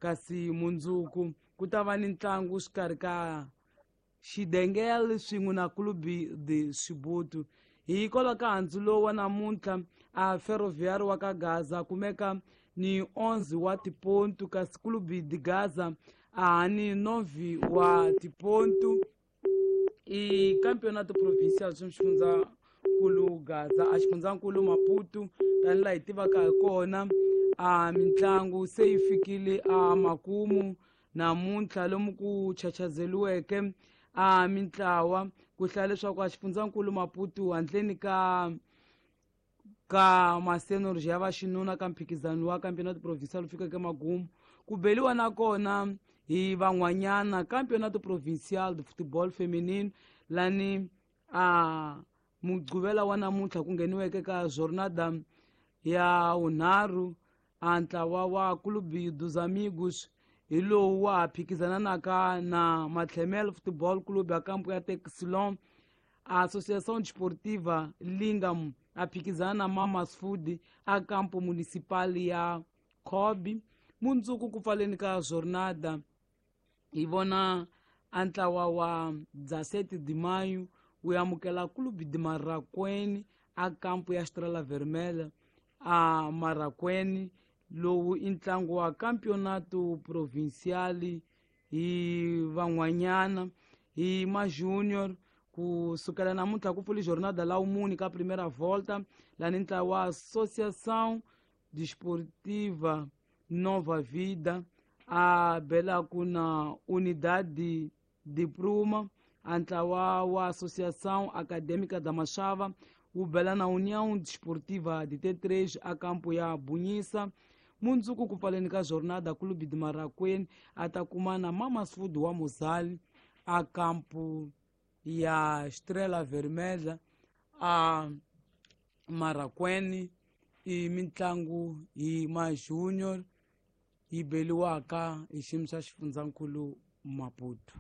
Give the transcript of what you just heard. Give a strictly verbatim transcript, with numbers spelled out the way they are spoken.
Kasi mundzuku ku ta va ni ntlangu xikarhi ka Xidengel swin'we na Clube de Chibuto. Hikwalaho ka handzu lowu wa namuntlha, a Ferroviário wa ka Gaza kumeka ni onze wa tipontu, kasi Clube de Gaza a ni nove wa tipontu. I Campeonato Provincial swa xifundzankulu Gaza, a xifundzankulu Maputo, tanihi laha hi tivaka hi kona. A mitlangu se yi fikile a makumu namuntlha, lomu ku chachazeliweke a mintlawa ku hlaya leswaku a xifundzankulu Maputo handleni ka ka masenorji ya vaxinuna ka mphikizano wa Campeonato Provincial fikeke magumu. Ku beliwa nakona hi van'wanyana Campeonato Provincial de Futebol Feminino, lani a Mugqivela wa namuntlha ku ngheniweke ka jornada ya vunharhu. A ntlawa wa Clube dos Amigos hi lowu wa ha phikizananaka na Matlhemel Football Club ya kampo ya Texilon. Associação Desportiva Lingam a phikizana na Mamas Food a campo municipal ya Cobb. Mundzuku ku pfaleni ka jornada hi vona a ntlawa wa dezessete de Maio wu amukela Clube de Marraquene a kampo ya Estrela Vermelha a Marraquene. Lowu i ntlangu wa Campeonato Provincial hi van'wanyana. Hi ma-junior, kusukela namuntlha ku pfuli jornada la wumuni ka primeira volta, lani ntlawa wa Associação Desportiva Nova Vida a belaku na Unidade de Pruma. A ntlawa wa Associação Acadêmica da Machava wu bela na União Desportiva de T três a campo ya Bunyisa. Mundzuku ku pfaleni ka jornada, Clube de Marraquene a ta kuma na Mamas Food wa Mozali a campo ya Estrela Vermelha a Marraquene. I mitlangu hi ma-junior yi beliwaka hi xiyimo xa xifundzankulu Maputo.